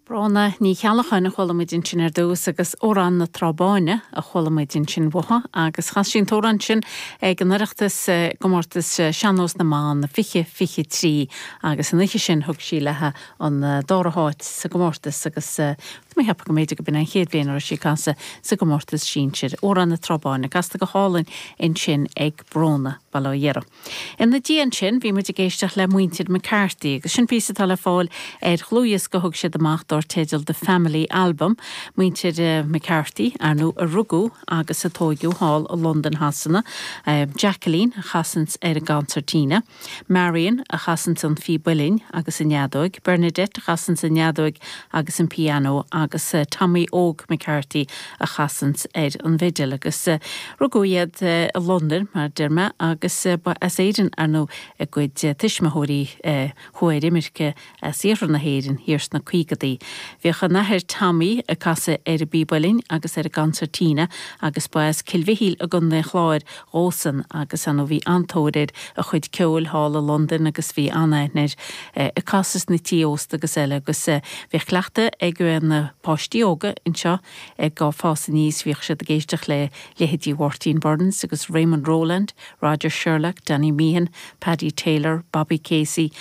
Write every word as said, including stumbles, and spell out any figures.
Bróna Ní Cheallacháin a chuala muid ansin ar dtús agus Amhrán na Trá Báine a chuala muid ansin uaithi agus chas sí an t-amhrán sin ag an Oireachtas gcomórtas Sean-nós na mBan fiche fiche trí agus an oíche sin thug sí léi an dara háit sa gcomórtas agus mé ag ceapadh go mb'fhéidir go b'in an chéad bhliain a raibh sí ag casadh sa gcomórtas sinsir Amhrán na Trá Báine casta go hálainn ansin ag Bróna Bail ó Dhia uirthi. Ina dhiaidh sin bhí muid ag éisteacht le muintir McCarthy agus sin píosa atá le fáil ar dhlúthdhiosca a thug siad amach dar teideal The Family Album, muintir uh, McCarthy ar ndóigh a rugadh agus a tógadh thall i Londain Shasana, uh, Jacqueline a chasanns ar an gconsairtín, Marion a chasanns an phíb uilleann agus an fheadóg, Bernadette a chasanns an fheadóg agus an piano agus uh, Tommy Óg McCarthy a chasanns ar an bhfidil agus uh, rugadh iad uh, i Londain mar deir mé agus uh, ba as Éirinn ar ndóigh a gcuid uh, tuismitheoirí uh, chuaigh ar imirce as iarthar na hÉireann thiar sna caogaidí. Bhíodh an t-athair Tommy ag casadh ar an bpíb uilleann agus ar an gconsairtín agus ba as Cill Mhichíl i gContae an Chláir dósan agus an bhí an-tóir ar a chuid ceoil thall i Londain agus bhí an-aithne air ag casadh sna tithe ósta agus eile agus bhí cleachtadh ag na páistí óga anseo ag fás aníos bhíodh siad ag éisteacht le leithéidí Mhartin Burns agus Raymond Rowland, Roger Sherlock, Danny Meehan, Paddy Taylor, Bobby Casey